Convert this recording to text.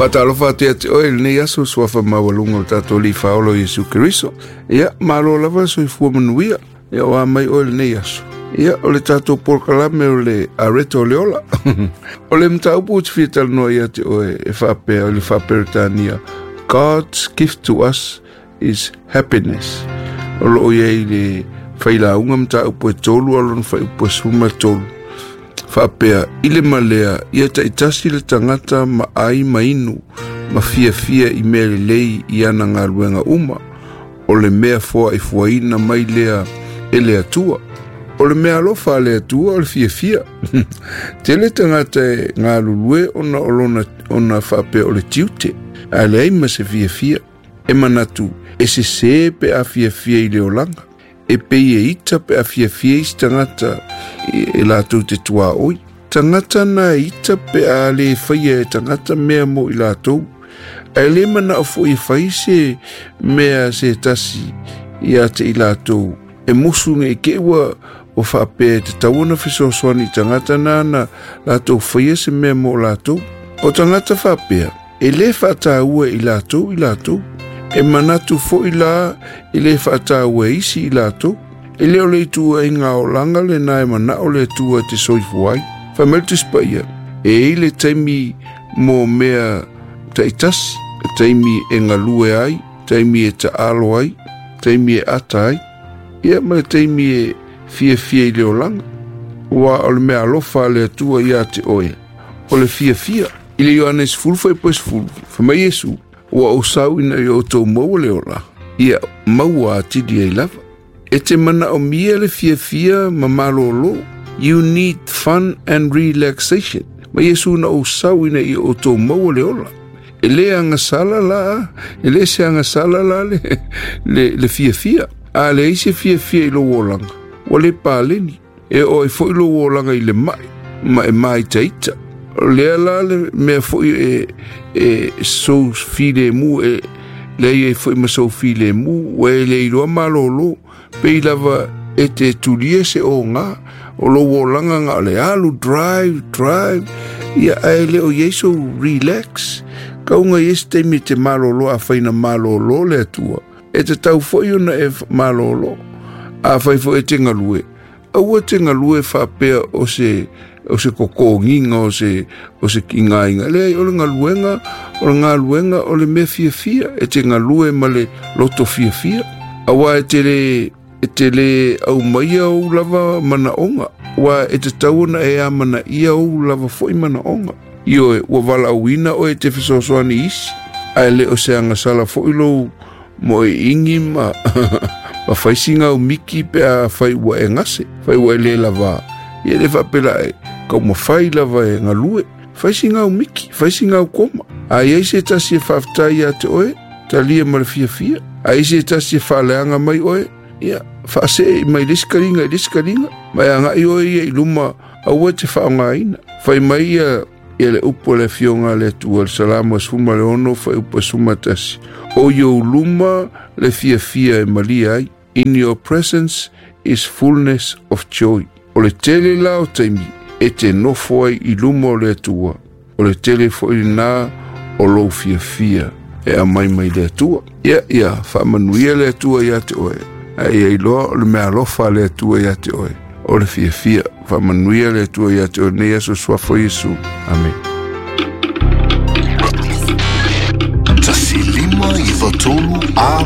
Faatalofa atu ia te oe i lenei aso suafa maualuga o le tatou Alii Faaola o Iesu Keriso. Ia, malo lava le soifua manuia. Ia, o a mai oe i lenei aso. Ia, o le tatou polokalame o le Areto o le Ola. O le mataupu ou te fia talanoa ia te oe e faapea o le faa-Peretania, God's gift to us is happiness. O loo i ai le failauga mataupu e 3 a lona fuaiupu e 13. Faapea, i le malea, ia taitasi le tagata ma ai ma inu, ma fiafia i mea lelei i ana galuega uma, o le mea foaifuaina mai lea e le Atua. O le mea alofa a le Atua o le fiafia. Tele tagata e galulue ona o lona ona faapea o le tiute, ae leai ma se fiafia. E manatu, e sesē pe a fiafia i le olaga. E pei e ita pe a fiafia isi tagata e latou te tuaoi. Tagata na e ita pe a le faia e tagata mea mo i latou. Ae le manao foi e fai se mea se tasi ia te i latou. E musu nei ke ua o faapea e tatau ona fesoasoani i tagata nāna latou faia se mea mo latou. O tagata faapea, e le faataua i latou i latou. E manatu foi la e le faataua e isi i latou. E le o le ituaiga olaga lena e manao le Atua e te soifua ai. Fai mai le Tusi Paia, e i ai le taimi mo mea taitasi, taimi e galue ai, taimi e taalo ai, taimi e ata ai, ia ma le taimi e fiafia i le olaga. Ua o le mea alofa a le Atua ia te oe, o le fiafia. I le Ioane 10 fuaiupu 10, fai mai Iesu, ua ou sau ina ia outou maua le ola, ia maua atili ai lava. E te manaomia le fiafia ma malōlō. You need fun and relaxation. Ma Iesu na ou sau ina ia outou maua le ola. E le agasala la, e le se agasala la le fiafia. A leai se fiafia i lou olaga, ua le paleni. E oo ai foi lou olaga i le mai, ma e māitaita. O lea la le mea foi e sou filemu, e leai ai foi ma sou filemu, ua e le iloa malōlō, pei lava e te tulia se oga, o lou olaga na o le alu, drive, drive, ia ae le o i ai sou relax. Kauga i ai se taimi e te malōlō afai na malōlō le Atua. E tatau foi ona e malōlō. Afai foi e te galue, aua te galue faapea o se kokogiga, o se kigaina. Leai, o le galuega, o le galuega o le mea fiafia, e te galue ma le loto fiafia. Aua e te le aumaia ou lava manaoga, ua e tatau ona e amanaia ou lava foi manaoga. Ioe, ua valaauina oe e te fesoasoani isi, ae le o se agasala foi lou mo e ingi ma ma faisinga o miki pe a fai ua e gase, fai ua e le lava. Ia le faapela e kaumafai lava e galue, faisinga o miki, faisinga o koma. A iai se tasi e faafetai ia te oe, talia ma le fiafia. A iai se tasi e faaleaga mai oe, ia faasee mai le isi kaliga i le isi kaliga. Ma e agai oe ia i luma aua e te faaaogaina. Fai mai ia le upu a le Afioga a le Atua, le Salamo 16 fuaiupu 11. O i ou luma le fiafia e malia ai. In your presence is fullness of joy. O le tele la o taimi e te nofo ai i luma o le Atua. O le tele foi lena o lou fiafia e aumai mai le Atua. Ia, ia, faamanuia le Atua ia te oe. Ae ia iloa o le mea alofa a le Atua ia te oe. O le fiafia. Faamanuia le Atua ia te oe nei aso suafa o Iesu. Amen. 1 5 9 3 A.